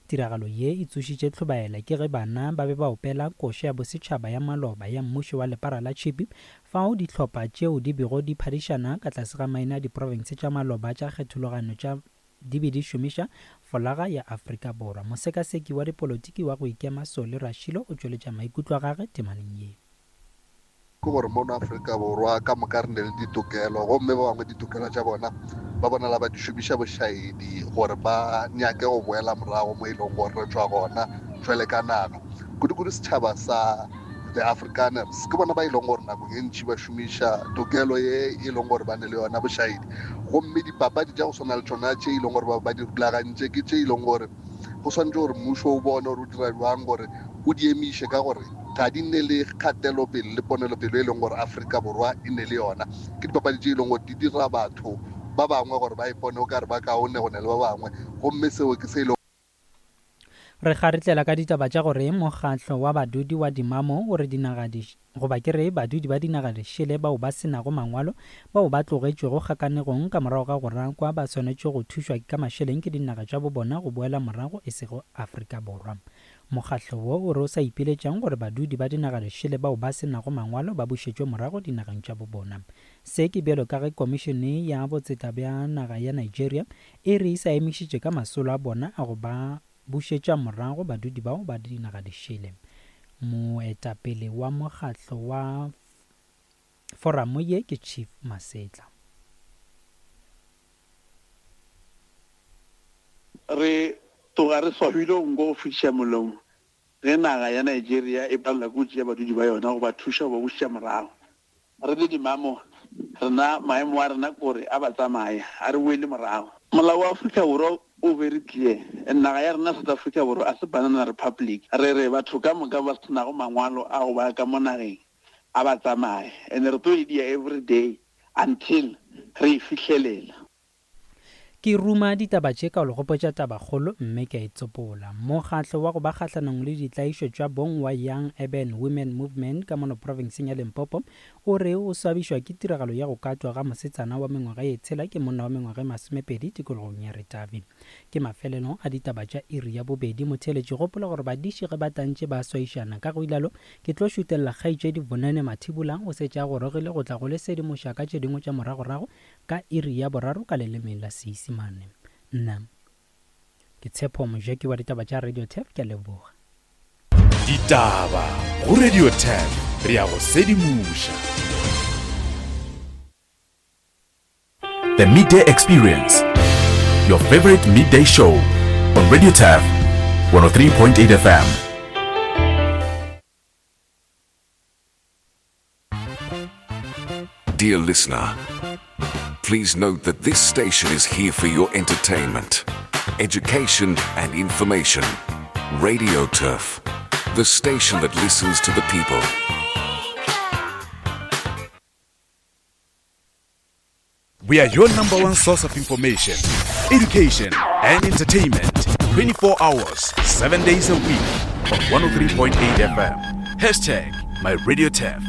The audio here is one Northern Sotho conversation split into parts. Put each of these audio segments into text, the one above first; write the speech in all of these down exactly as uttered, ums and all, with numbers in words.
Tiragalo ye e tsošitše tlhobaela ke ge bana ba be ba opela koša ya bosetšhaba ya maloba ya mmušo wa lepara la tšhipi fao dihlopha tšeo di bego di phadišana ka tlase ga maina a diprofense tša maloba tša kgethologano tša di be di šomiša folaga ya Afrika Borwa. Mosekaseki wa dipolotiki wa go ikema Solly Rashilo o tšweletša maikutlo a gagwe temaneng ye. Ke gore mono Afrika Borwa ka moka re ne le ditokelo, gomme ba bangwe ditokelo tša bona ba bonala ba di šomiša bošaedi gore ba nyake go boela morago mo e leng gore re tšwa gona jwale ka naga. Kudu-kudu setšhaba sa the Afrikaners ke bona ba e leng gore nakong e ntši ba šomiša tokelo ye e leng gore ba ne le yona bošaedi. Gomme dipapadi tša go swana le tšona tše e leng gore ba ba di rulagantše ke tše e leng gore go swanetše gore mmušo o bone gore o dira bjang gore o di emiše, ka gore ga di nne le kgatelopele le ponelopele e leng gore Afrika Borwa e ne le yona. Ke dipapadi tše e leng gore di dira batho ba bangwe gore ba ipone o ka re ba kaone go ne le ba bangwe, gomme seo ke se e leng. Re kgaretlela ka ditaba tša gore mokgatlo wa badudi wa Dimamo o re dinaga di goba ke re badudi ba dinaga dišele bao ba senago mangwalo bao ba tlogetšwego kgakanegong ka morago ga go rakwa ba swanetše go thušwa ka mašeleng ke dinaga tša bo bona go boela morago e sego Afrika Borwa. Mokgatlo wo o re o sa ipiletšang gore badudi ba dinaga dišele bao ba senago mangwalo ba bušetšwe morago dinageng tša bo bona. Se ke bjalo ka ge komišene ya botseta bja naga ya Nigeria e re e sa emišitše ka masolo a bona a go ba bušetša morago badudi bao ba dinaga dišele. Moetapele wa mokgatlo wa foramo ye ke Chief Masetla. Re tloga re swabile nko go fetiša molomo ge naga ya Nigeria e palelwa ke go tšea badudi ba yona go ba thuša go ba bušetša morago. Re le dimamo rena maemo a rena kore a ba tsamaya a re boele morago. Molao wa Afrika Borwa o very clear, naga ya rena South Africa Borwa a se banana republic. Re re batho ka moka ba senago mangwalo a go ba ka mo nageng a ba tsamaye, and re tlo e dia every day until re e fihlelela. Ke ruma ditaba tše ka go le gopotša tabakgolo mme ke a e tsopola. Mokgatlo wa go ba kgahlanong le ditlaišo tša bong wa Young Urban Women Movement ka mono profenseng ya Limpopo o re o swabišwa ke tiragalo ya go katwa ga mosetsana wa mengwaga ye tshela ke monna wa mengwaga e masomepedi tikologong ya Ritavi. Ke mafelelo a ditaba tša iri ya bobedi. Motheeletši gopola gore badiši ge ba tantše ba swaišana ka go ilalo ke tlo šutelela kgaetšedi Bonene Mathibula o setše a gorogile go tla go le sedimoša ka tše dingwe tša moragorago ka iri ya boraro ka leleme la Seisemane. Nna ke Tshepo Mojeki wa ditaba tša Radio Turf, ke a leboga. Ditaba go Radio Turf, re ya go sedimoša. The Midday Experience, your favorite midday show on Radio Turf one oh three point eight F M. Dear listener, please note that this station is here for your entertainment, education and information. Radio Turf, the station that listens to the people. We are your number one source of information, education and entertainment. twenty-four hours, seven days a week on one oh three point eight F M. Hashtag My Radio Turf.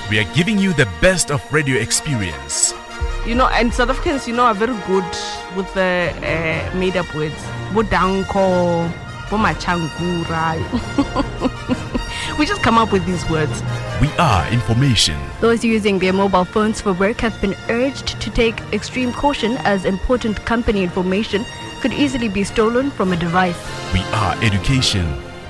We are giving you the best of radio experience. You know, and South Africans, you know, are very good with the, uh, made-up words. Bodanko, Bomachankura. We just come up with these words. We are information. Those using their mobile phones for work have been urged to take extreme caution as important company information could easily be stolen from a device. We are education.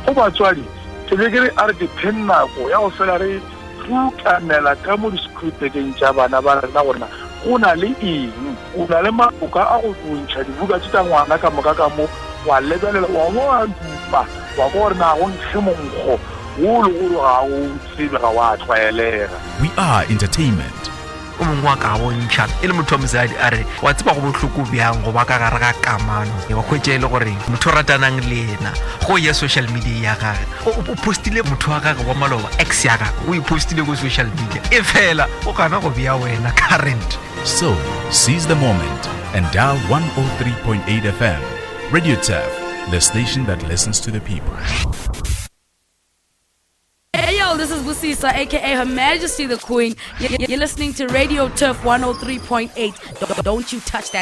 Go batswadi, ke be ke re a re ke pheng nako ya go fela re rutanela ka mo di-scripteng tša bana ba rena gore na go na le eng, o na le maboka a go ntšha dibuka tše tša ngwana ka moka ka mo, wa lebelela, wa bo wa dupa, wa kwa gore na go nkge monkgo wo le gore ga o tsebe, ga wa tlwaelega. We are entertainment. O mongwe wa ka bontšha e le motho wa mosadi a re wa tseba go bohloko bjang go ba ka gare ga kamano, wa hwetša e le gore motho o ratanang le yena go ya social media ya gage, o, o postile motho wa gage wa maloba, ex ya gage, o e postile ko social media, e fela o gana go bea wena current. So seize the moment and dial one oh three point eight F M. Radio Turf, the station that listens to the people. Hey yo, this is Busisa, aka Her Majesty the Queen. You're listening to Radio Turf one oh three point eight. Don't you touch that.